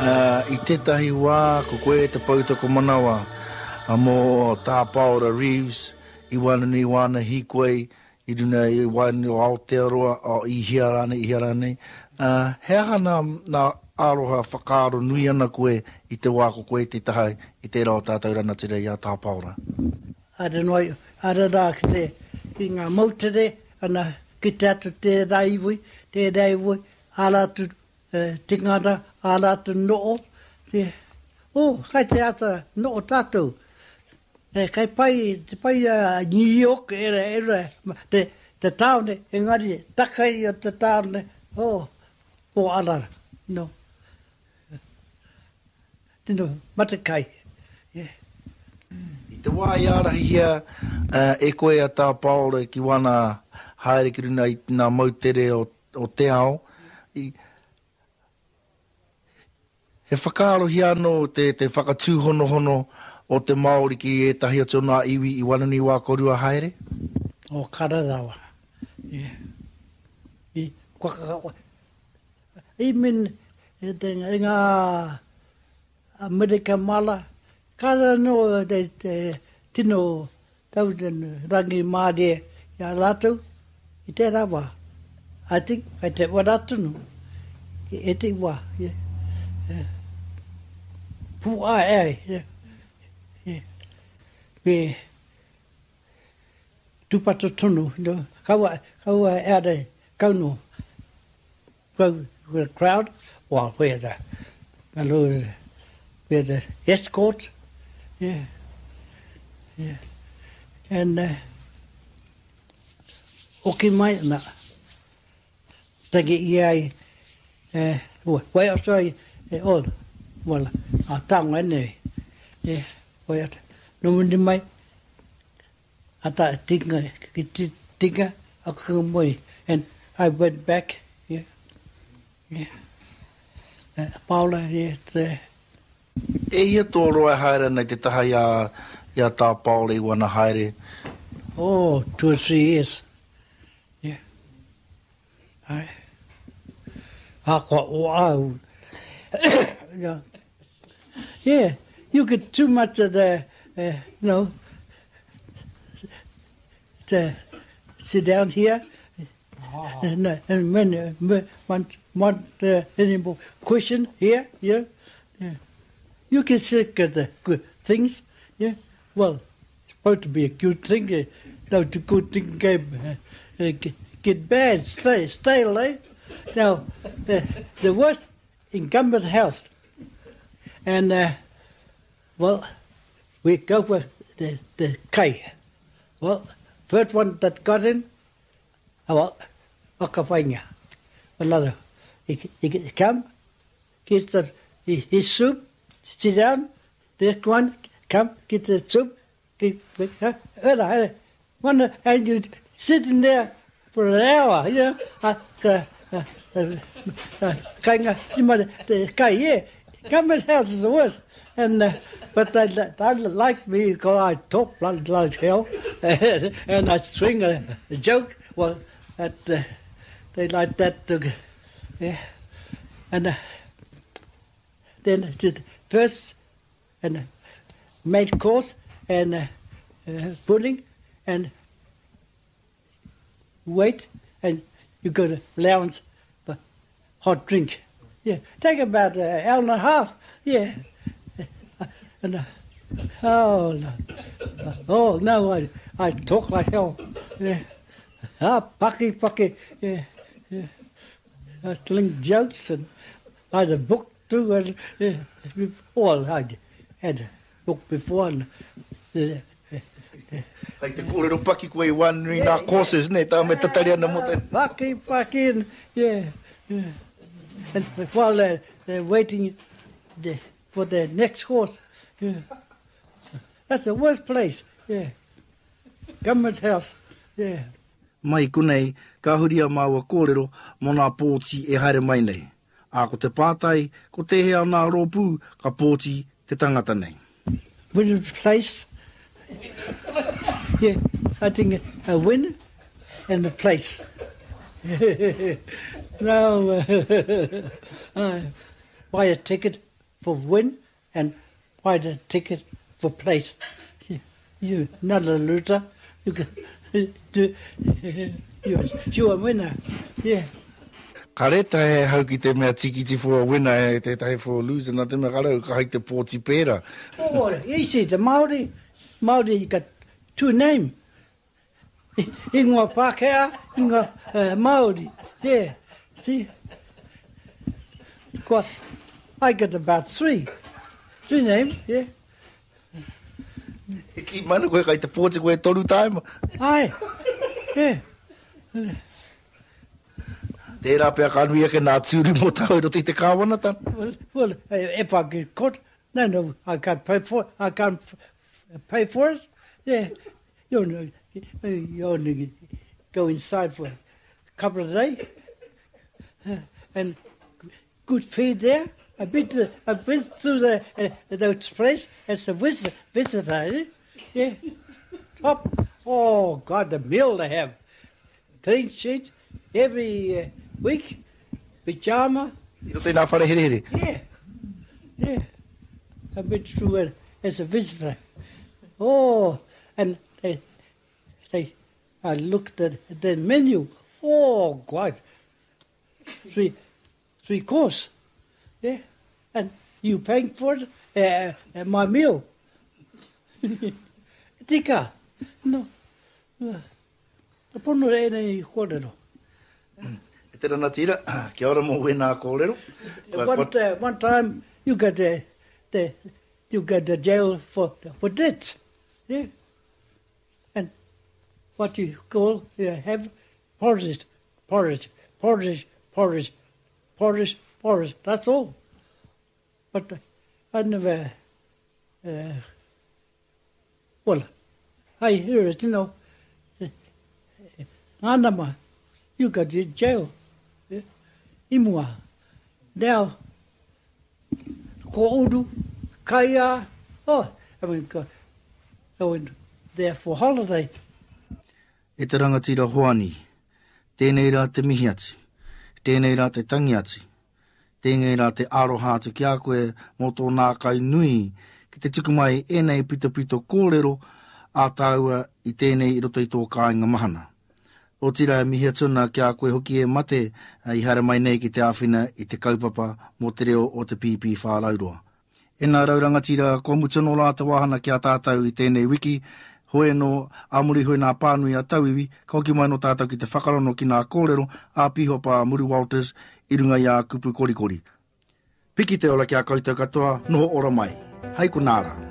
I tētahi wā ko koe te poutokomanawa mō Tā Paora Reeves i waenganui i wāna hīkoi i runga i waenganui o Aotearoa, i hea rānei, i hea rānei. He aha nā, nā aroha whakaaro nui ana koe i te wā ko koe te taha i tērā o tātou ranatira i a Tā Paora? Haere noa, haere rā ki te, ki ngā moutere, ana, kite atu tērā iwi, tērā iwi, āra atu Tingana a ratou noo, te, oh, kai te ata noo tatou. E, kai pai, te pai a New York, era, era, te, te taone, engari, takai o te taone, oh, o ara, no. Tino matekai, yeah. I te wā i ārahihia e koe a Tā Paora ki wana haere ki runga i ngā moutere o o te ao, i, he whakaarohia anō te, te whakatūhonohono o te Māori ki ētahi atu o ngā iwi i waenganui i wā kōrua haere? O Kararawa. Yeah. I, kua, I mean, e te, e ngā Amerika mala, kāre anō te, te tino tau te rangimārie i a rātou i tērā wā. I think, kei te ora tonu i ētehi wā. Yeah. Yeah. Pū-ae ai. Yeah. Yeah. Me tūpato tonu, no, kaua, kaua e ara kau no. Go with a crowd, well, we had a, a little, we had an escort, yeah, yeah. And uh, hoki mai, na, tangi i ai, eh, wai atu ai, eh, oh, well, a tānga nei, eh, wai atu, no mundi mai, Ata tinga ki te tinga a moi and I went back yeah yeah Paula yeah te. E hia tō roa e haere ana i te taha i a i a Tā Paora i wana haere? Oh, two or three years yeah Ae. Ahakoa o au yeah yeah you get too much of the you know to sit down here and and when want want any more question here yeah yeah you get sick of the good things yeah well supposed to be a good thing no the good thing came get bad stay stale eh now the, the worst incumbent house and uh, well we go for the, the kai. Well, first one that got in, well, whakawhainga. Another, he, he come, get the, his soup, sit down, this one, come, get the soup, get, get, one, and you sitting there for an hour, you know. Uh, uh, uh, uh, kainga, te kai, yeah. Government house is the worst. And, uh, but they, they like me because I talk like, like hell and I swing a, a joke. Well, that, uh, they like that to, yeah. And uh, then the first and main course and uh, uh, pudding and wait and you go to lounge for hot drink. Yeah, take about an hour and a half. Yeah. And uh, oh no, oh no, I I talk like hell. Yeah. Ah, paki paki. Yeah, yeah. I telling jokes and I had a book too. And yeah, well, I had a book before and uh, Kei te kōrero paki koe i wānui nā courses, nē, tā me tatari ana mō te... Paki, paki, and, yeah, yeah. And while they're, they're waiting the, for the next course, yeah. That's the worst place, yeah. Government house, yeah. Mai konei, ka huri a māua kōrero mō nā pōti e haere mai nei. Ā, ko te pātai, ko tēhea o nā rōpū ka pōti te tangata nei? Win place, yeah, I think a win and a place. No, I buy a ticket. for win and buy the ticket for place. You not a loser. You can do you you a winner. Yeah. Ka reta he hau ki te mea tikiti for a winner e tētahi for a loser, nā te mea ka rau ka hai te pōti pērā. Oh, easy, the Māori, Māori you got two name. Ingoa Pākehā, ingoa uh, Māori. Yeah, see? Ko, I get about three. Three names, yeah. E kī mana koe kai te pōti koe e toru tāima. Ai, yeah. Tērā pea ka nui ake nā tūru mō tāu i roto i te kāwanatanga. Well, well, if I get caught, no, no, I can't pay for it. I can't pay for it. Yeah, you only, you only go inside for a couple of days. And good feed there. I've been, to, I've been through the, uh, those place as a visitor, visitor eh? Yeah. Top. Oh, God, the meal they have. Clean sheet every uh, week. Pajama. I roto i nā whare herehere. Yeah. Yeah. I've been through it as a visitor. Oh, and they, they, I looked at the menu. Oh, God. Three, three course. Yeah. And you paying for it? Uh, my meal. Tika. No. Te pono e nei kōrero. E te ranatira, kia ora mō wēnā kōrero. One, uh, one time you got the, the, you got the jail for, for debts. Yeah. And what you call, you have porridge, porridge, porridge, porridge, porridge, porridge. That's all. But I never, uh, well, I hear it, you know. Ngā you got in jail. Yeah. I mua. Now, ko uru, kaia, oh, I went, go, I went there for holiday. E te rangatira Hoani, tēnei rā te mihi atu, tēnei rā te tangi atu, tēnei rā te aroha atu ki a koe mō tō nākau nui ki te tuku mai ēnei pitopito kōrero a tāua i tēnei i roto i tō kāinga mahana. Otirā e mihi atu ana ki a koe hoki e mate i haere mai nei ki te āwhina i te kaupapa mō te reo o te Pīpīwhārauroa. E nā rau rangatira, kua mutu anō rā te wāhana ki a tātou i tēnei wiki, hoi anō, ā muri hoi nā pānui a tauiwi, ka hoki mai anō tātou ki te whakarono ki nā kōrero a Pīhopa a Muru Walters i runga i ā kupu korikori. Piki te ora ki a koutou katoa, noho ora mai. Hei konā rā.